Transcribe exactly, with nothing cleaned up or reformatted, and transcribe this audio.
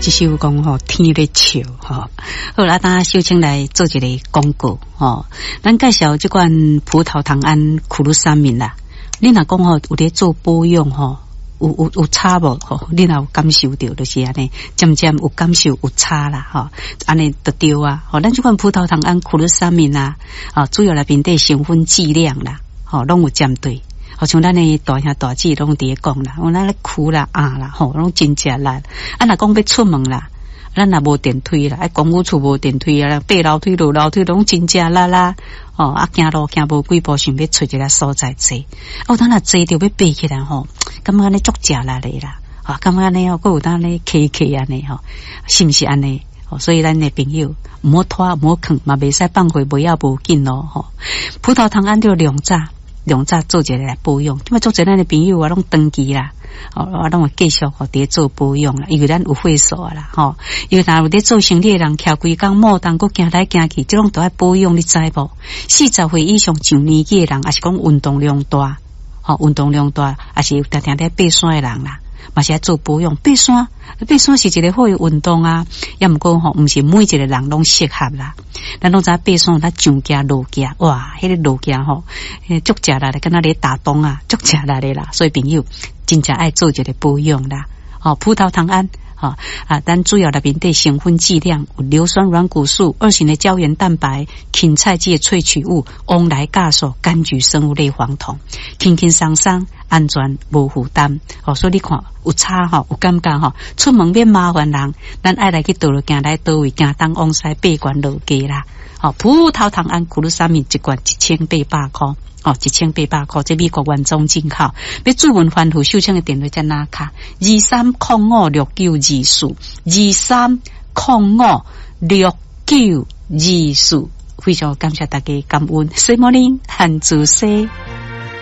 這首講吼天咧笑吼。好啦，等下秀清來做一個廣告吼。咱介紹這款葡萄糖胺苦魯三敏啦。你若講吼有咧做保養吼，有有有差無吼？你若有感受著，就是按呢，漸漸有感受有差啦吼。按呢就對啊。吼，咱這款葡萄糖胺苦魯三敏啊，啊，主要內面底成分劑量啦，吼，攏有針對。好像咱的大兄大姊攏佇咧講啦，我咱咧哭啦啊啦，吼，攏真食力。啊，若講欲出門啦，咱若無電梯啦，啊，公寓厝無電梯啊，爬樓梯落樓梯攏真食力啦。吼，啊，行路行無幾步，想欲揣一个所在坐。哦，當若坐著欲爬起來吼，感覺按呢足食力的啦。啊，感覺按呢吼，閣有當咧磕磕按呢吼，是毋是按呢？所以咱的朋友毋好拖，毋好囥，嘛袂使放過袂要無緊咯。吼，葡萄糖胺著量早。量早做一个來保養，因為做濟咱的朋友啊，攏長期啦，哦，我攏會繼續吼佇咧做保養啦，因為咱有會所啦，吼，因為若有咧做生理的人，徛規工莫當閣行來行去，這攏都愛保養，你知無？四十歲以上上年紀的人，抑是講運動量大，吼，運動量大，抑是有定定咧爬山的人啦，嘛是愛做保養。爬山，爬山是一個好的運動啊，抑毋過吼，毋是每一個人攏適合啦。咱攏知爬山，咱上行落行，哇，彼個落行吼，足食力的，敢若咧打樁啊，足食力的啦。所以朋友真正愛做一個保養啦。吼，葡萄糖胺，吼啊，咱主要內面底成分劑量有硫酸軟骨素、二型的膠原蛋白、芹菜籽的萃取物、黃來酵素、柑橘生物類黃酮，輕輕鬆鬆，安全無負擔。吼，所以你看有差吼，有感覺吼，出門免麻煩人，咱愛來去佗落行來佗位，行東往西爬懸落低啦。吼，葡萄糖胺苦魯三敏一罐一千八百箍。哦，一千八百箍，這美國原裝進口。欲注文翻覆秀清的電話才拿卡，二三空五六九二四，二三空五六九二四。非常感謝大家感恩，水莫林漢子西。